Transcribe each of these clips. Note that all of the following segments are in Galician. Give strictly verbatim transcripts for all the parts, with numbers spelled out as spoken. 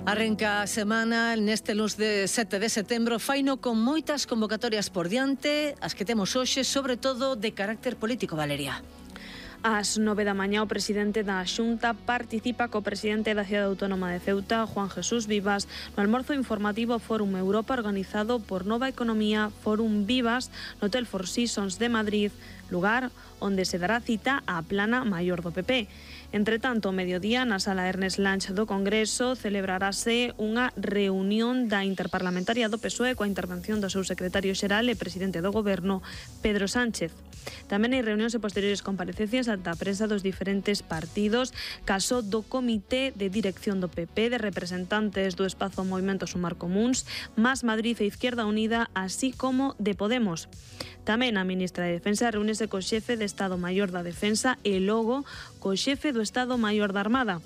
Arrenca a semana neste luns de sete de setembro, faino con moitas convocatorias por diante, as que temos hoxe, sobre todo de carácter político, Valeria. Ás nove da mañá o presidente da Xunta participa co presidente da Cidade Autónoma de Ceuta, Juan Jesús Vivas, no almorzo informativo Fórum Europa organizado por Nova Economía Fórum Vivas no Hotel Four Seasons de Madrid, lugar onde se dará cita á plana maior do P P. Entre tanto, ao mediodía, na sala Ernest Lange do Congreso, celebrarase unha reunión da Interparlamentaria do P S O E coa intervención do seu secretario xeral e presidente do Goberno, Pedro Sánchez. Tamén hai reunións e posteriores comparecencias ante a prensa dos diferentes partidos, caso do Comité de Dirección do P P, de representantes do espazo Movimento Sumar Comuns, Más Madrid e Izquierda Unida, así como de Podemos. Tamén a ministra de Defensa reúnese co xefe de Estado Maior da Defensa e logo co xefe do Estado Maior da Armada.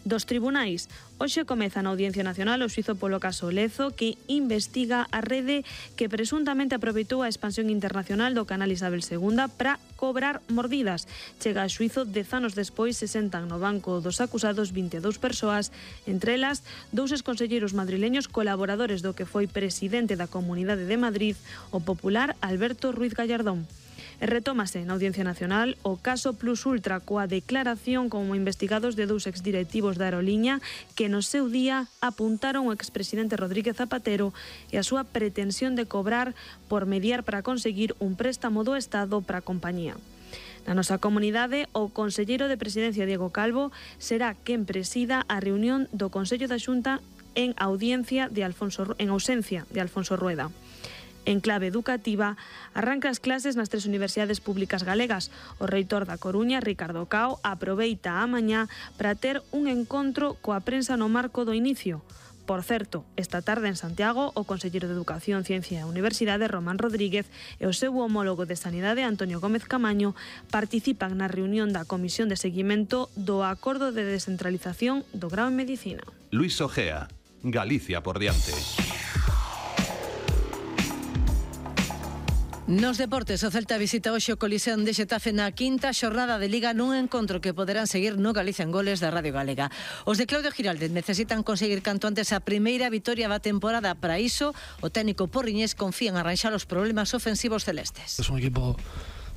Dos tribunais, hoxe comeza na Audiencia Nacional o xuízo polo caso Lezo, que investiga a rede que presuntamente aproveitou a expansión internacional do canal Isabel segunda para cobrar mordidas. Chega a xuízo dez anos despois, se sentan no banco dos acusados vinte e dous persoas, entre elas dous exconselleiros madrileños colaboradores do que foi presidente da Comunidade de Madrid, o popular Alberto Ruiz Gallardón. E retómase na Audiencia Nacional o caso Plus Ultra coa declaración como investigados de dous exdirectivos da aeroliña que no seu día apuntaron o expresidente Rodríguez Zapatero e a súa pretensión de cobrar por mediar para conseguir un préstamo do Estado para a compañía. Na nosa comunidade, o conselleiro de Presidencia Diego Calvo será quen presida a reunión do Consello da Xunta en audiencia de Alfonso en ausencia de Alfonso Rueda. En clave educativa, arranca as clases nas tres universidades públicas galegas. O reitor da Coruña, Ricardo Cao, aproveita a mañá para ter un encontro coa prensa no marco do inicio. Por certo, esta tarde en Santiago, o conselleiro de Educación, Ciencia e Universidade, Román Rodríguez, e o seu homólogo de Sanidade, Antonio Gómez Camaño, participan na reunión da Comisión de Seguimento do Acordo de Descentralización do Grao en Medicina. Luis Ojea, Galicia por diante. Nos deportes, o Celta visita hoxe o Coliseo de Xetafe na quinta xornada de Liga nun encontro que poderán seguir no Galicia en Goles da Radio Galega. Os de Claudio Giraldez necesitan conseguir canto antes a primeira vitoria da temporada. Para iso, o técnico porriñés confía en arranxar os problemas ofensivos celestes. Es un equipo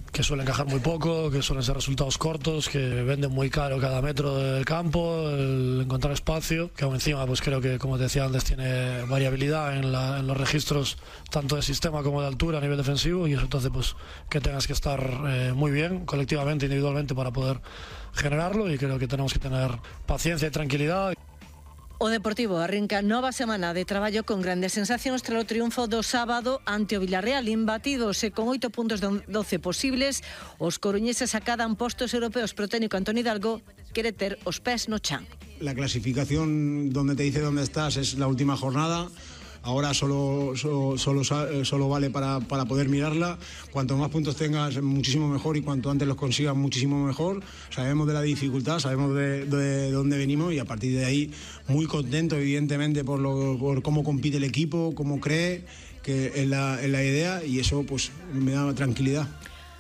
que suele encajar muy poco, que suelen ser resultados cortos, que venden muy caro cada metro del campo, el encontrar espacio, que aún encima pues creo que, como te decía antes, tiene variabilidad en, la, en los registros tanto de sistema como de altura a nivel defensivo, y eso entonces pues que tengas que estar eh, muy bien colectivamente, individualmente, para poder generarlo, y creo que tenemos que tener paciencia y tranquilidad. O Deportivo arrinca nova semana de traballo con grandes sensacións tras o triunfo do sábado ante o Villarreal, imbatidos e con oito puntos de doce posibles. Os coruñeses acadan postos europeos, pero o técnico Antonio Hidalgo quere ter os pés no chan. La clasificación donde te dice dónde estás es la última jornada. Ahora solo, solo, solo, solo vale para, para poder mirarla. Cuanto más puntos tengas, muchísimo mejor, y cuanto antes los consigas, muchísimo mejor. Sabemos de la dificultad, sabemos de, de dónde venimos, y a partir de ahí muy contento, evidentemente, por, lo, por cómo compite el equipo, cómo cree que es la, es la idea, y eso pues me da tranquilidad.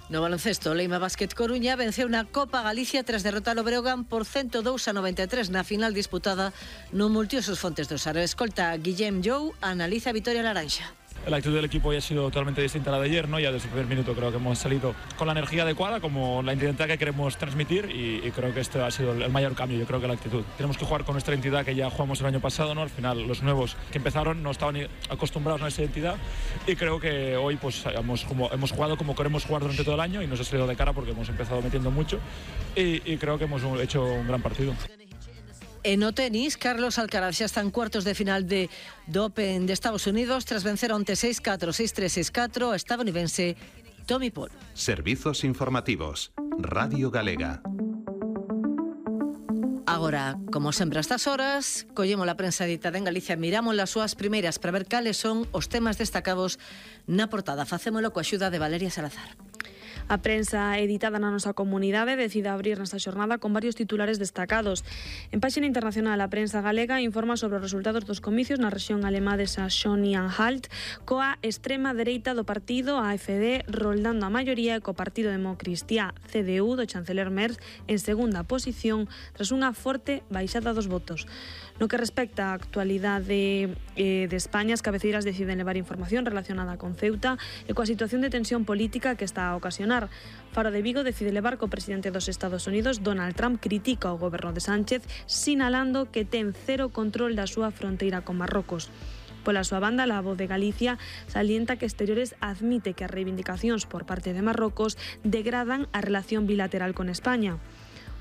No baloncesto, Leima Basket Coruña venceu na Copa Galicia tras derrotar o Breogán por ciento dous a noventa e tres na final disputada no Multiusos Fontes do Sar. Escolta Guillem Jou analiza a vitoria laranxa. La actitud del equipo ya ha sido totalmente distinta a la de ayer, ¿no? Ya desde el primer minuto creo que hemos salido con la energía adecuada, como la identidad que queremos transmitir, y, y creo que este ha sido el mayor cambio. Yo creo que la actitud. Tenemos que jugar con nuestra identidad que ya jugamos el año pasado, ¿no? Al final los nuevos que empezaron no estaban acostumbrados a esa identidad, y creo que hoy pues hemos, como, hemos jugado como queremos jugar durante todo el año, y nos ha salido de cara porque hemos empezado metiendo mucho, y, y creo que hemos hecho un gran partido. En o tenis, Carlos Alcaraz xa está en cuartos de final de do Open de Estados Unidos tras vencer onte seis catro, seis tres, seis catro a estadounidense Tommy Paul. Servizos informativos. Radio Galega. Agora, como sempre a estas horas, collemos a prensa editada en Galicia, miramos as súas primeiras para ver cales son os temas destacados na portada. Facémolo coa axuda de Valeria Salazar. A prensa editada na nosa comunidade decide abrir nesta xornada con varios titulares destacados. En páxina internacional, a prensa galega informa sobre os resultados dos comicios na rexión alemá de Saxony-Anhalt, coa extrema dereita do partido A F D roldando a maioría e co Partido Democristiá C D U do chanceler Merz en segunda posición tras unha forte baixada dos votos. No que respecta á actualidade eh, de España, as cabeceiras deciden levar información relacionada con Ceuta e coa situación de tensión política que está a ocasionar. Faro de Vigo decide levar co presidente dos Estados Unidos, Donald Trump, critica o goberno de Sánchez, sinalando que ten cero control da súa fronteira con Marrocos. Pola súa banda, a Voz de Galicia salienta que Exteriores admite que as reivindicacións por parte de Marrocos degradan a relación bilateral con España.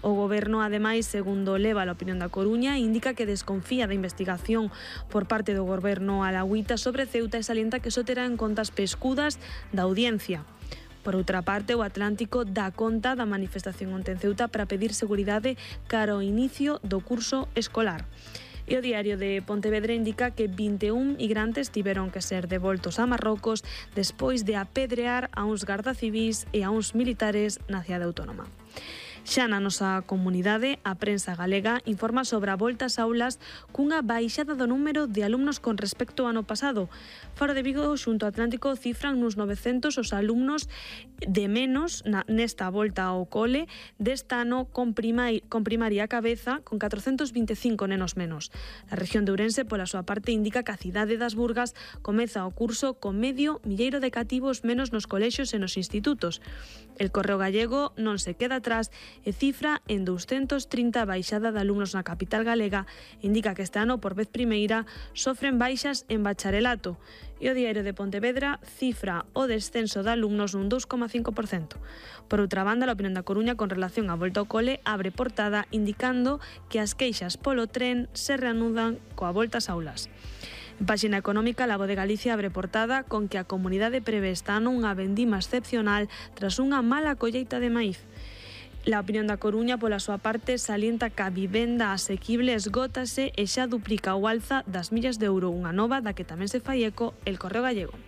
O goberno, ademais, segundo leva a opinión da Coruña, indica que desconfía da investigación por parte do goberno alauita sobre Ceuta e salienta que só terá en conta as pescudas da audiencia. Por outra parte, o Atlántico dá conta da manifestación onte en Ceuta para pedir seguridade cara ao inicio do curso escolar. E o Diario de Pontevedra indica que vinte e un migrantes tiveron que ser devoltos a Marrocos despois de apedrear a uns gardacivís e a uns militares na cidade autónoma. Xa na nosa comunidade, a prensa galega informa sobre a volta ás aulas cunha baixada do número de alumnos con respecto ao ano pasado. Faro de Vigo xunto ao Atlántico cifran nos novecentos os alumnos de menos na, nesta volta ao cole deste ano con, primai, con primaria a cabeza con catrocentos vinte e cinco nenos menos. A región de Ourense, pola súa parte, indica que a cidade das Burgas comeza o curso con medio milleiro de cativos menos nos colexios e nos institutos. El Correo Gallego non se queda atrás e cifra en douscentos trinta a baixada de alumnos na capital galega, indica que este ano, por vez primeira, sofren baixas en bacharelato. E o Diario de Pontevedra cifra o descenso de alumnos nun dous coma cinco por cento. Por outra banda, a opinión da Coruña con relación á volta ao cole abre portada indicando que as queixas polo tren se reanudan coa volta ás aulas. En páxina económica, a Voz de Galicia abre portada con que a comunidade prevé este ano unha vendima excepcional tras unha mala colleita de maíz. La opinión da Coruña, pola súa parte, salienta que a vivenda asequible esgótase e xa duplica o alza das millas de euro, unha nova da que tamén se fai eco El Correo Gallego.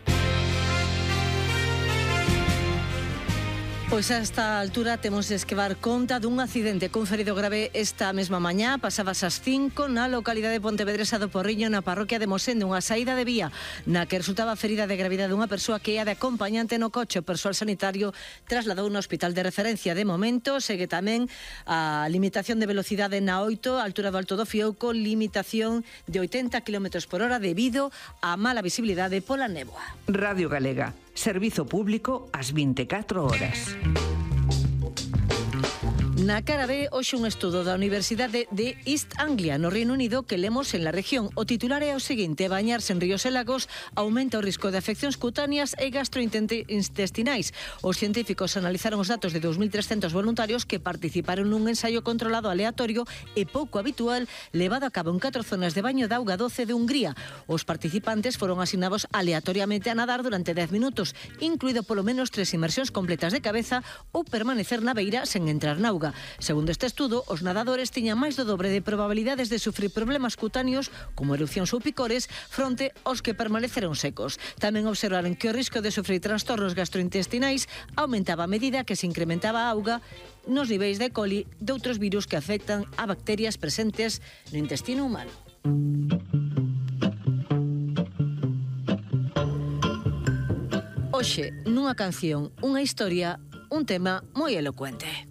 Pois a esta altura temos de esquevar conta dun accidente cun ferido grave esta mesma mañá, pasabas as cinco na localidade pontevedresa do Porriño, na parroquia de Mosende, unha saída de vía na que resultaba ferida de gravidade unha persoa que ia de acompañante no coche. O persoal sanitario trasladou no hospital de referencia. De momento segue tamén a limitación de velocidade na oito, altura do Alto do Fiouco, limitación de oitenta kilómetros por hora debido á mala visibilidade pola néboa. Radio Galega. Servizo público ás vinte e catro horas. Na cara B, hoxe un estudo da Universidade de East Anglia, no Reino Unido, que lemos en la región. O titular é o seguinte: bañarse en ríos e lagos aumenta o risco de afeccións cutáneas e gastrointestinais. Os científicos analizaron os datos de dous mil trescentos voluntarios que participaron nun ensaio controlado aleatorio e pouco habitual levado a cabo en catro zonas de baño de auga doce de Hungría. Os participantes foron asignados aleatoriamente a nadar durante dez minutos, incluído polo menos tres inmersións completas de cabeza ou permanecer na beira sen entrar na auga. Segundo este estudo, os nadadores tiñan máis do dobre de probabilidades de sufrir problemas cutáneos como erupcións ou picores fronte aos que permaneceron secos. Tamén observaron que o risco de sufrir trastornos gastrointestinais aumentaba a medida que se incrementaba a auga nos niveis de E. coli de outros virus que afectan a bacterias presentes no intestino humano. Hoxe, nunha canción, unha historia, un tema moi elocuente.